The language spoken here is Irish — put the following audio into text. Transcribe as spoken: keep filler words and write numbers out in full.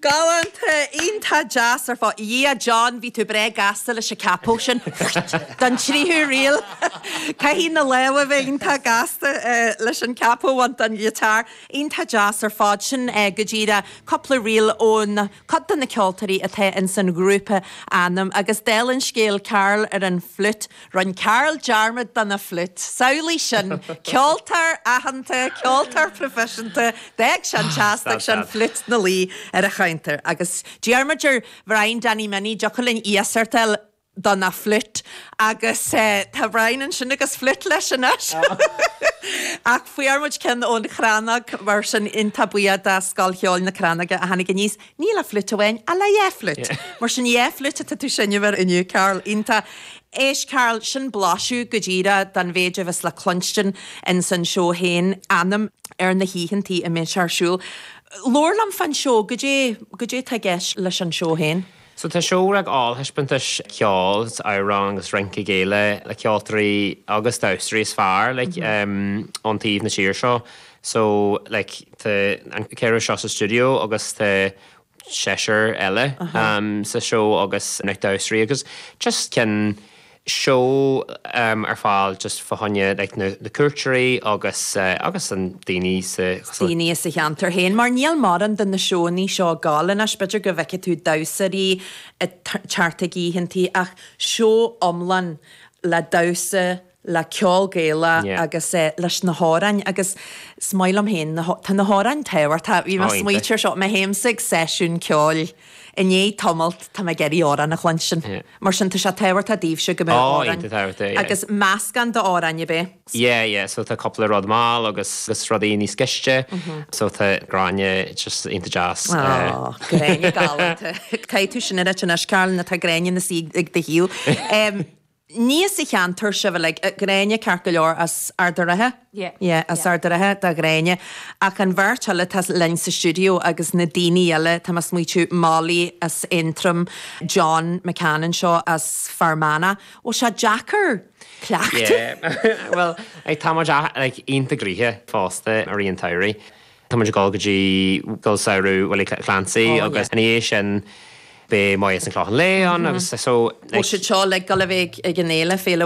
Galánta iontach deas ar fad. A John bhí tú breá gasta leis an capo sin don tríú ríl. Caithfidh na lámha bheith iontach gasta eh, leis an capo an don ghiotár. Iontach deas ar fad sin eh, go díreach cúpla ríl ón cuid de na ceoltóirí atá in san ghrúpa Anam agus dála an scéil Carl ar an flute, Rinne Carl dearmad den flute. Samhlaigh sin ceoltóir aitheanta, ceoltóir proifisiúnta, D'fhág sin teasta sin flute na luí ar a chuntar agus Diarmuid ar Brian Danny Minnie deocha íosartal don na flute agus uh, tá Brian ansin agus flute leis anois. Ach fuair muid ceann ón Chrannóg mar sin iontach buíoch do Scoil Cheoil na Crannóige a tháinig aníos ní le flute amháin ach le dhá flute. Mar sin dhá flute tá tú seinm air inniu Carl iontach. Éist Carl sin blaiseadh go díreach den mhéid a bheas le cluinstin in san seó féin Anam ar na hoícheantaí a mbeidh ar siúl. Labhair liom fán seó goidé goidé tá i gceist leis an seó féin. So tá seó ag ollthaispeántas ceol amhrán agus rince Gaelach le ceoltóirí agus damhsóirí is fearr like, mm -hmm. um, ón taobh na tíre seo. So like, tá an ceathrar seo sa studio agus tá seisear eile uh -huh. um, sa seó agus na damhsóirí agus just cinn seó um, ar fáil just fá choinne like, na, na cuairteoirí agus uh, agus an daoine sa daoine sa cheantar féin, mar níl mórán de na seónna seo gálanas b'fhéidir go bhfeice tú damhsóirí teacht ag oícheantaí ach seó iomlán le damhsa le ceol Gaelach Yeah. agus eh, leis na hamhráin agus is maith liom féin tá na hamhráin tábhachtach bhí Oh, iontach. smaointe seo má théimse ag seisiún ceoil inné tamalt tá mé ag iarraidh amhrán a chluinstin. Yeah. Mar sin tá sé tábhachtach daoibhse go mbeadh Oh, amhráin. iontach tábhachtach, yeah. agus meascán d'amhráin be. Yeah, yeah, so tá cúpla rud mall agus agus rudaí níos gaiste, so tá Gráinne just iontach deas. uh, Oh, Gráinne galánta. Caithfidh tú sin anois Carl na tá Gráinne na sí ag do shiúl. Um, Ní sa cheantar sibh le Gráinne ceart go leor as Ard an Rátha? Yeah. Yeah, as Ard an Rátha do Ghráinne. Ach an bheirt eile tá linn sa studio agus na daoine eile tá smaoitiú Molly as Aontroim, John McCann seo as Fear Manach. Ó sé deacair cleachtadh. Yeah. well, like, tá muid like, iontach gnoitheach fosta ar an tsamhraidh. Tá muid ag dul go dtí Scoil Samhraidh Willie Clancy Oh, agus yeah. ina dhiaidh sin beidh Moya an Clochán Léith agus so Ó sé seo le go bheith ag an éile féle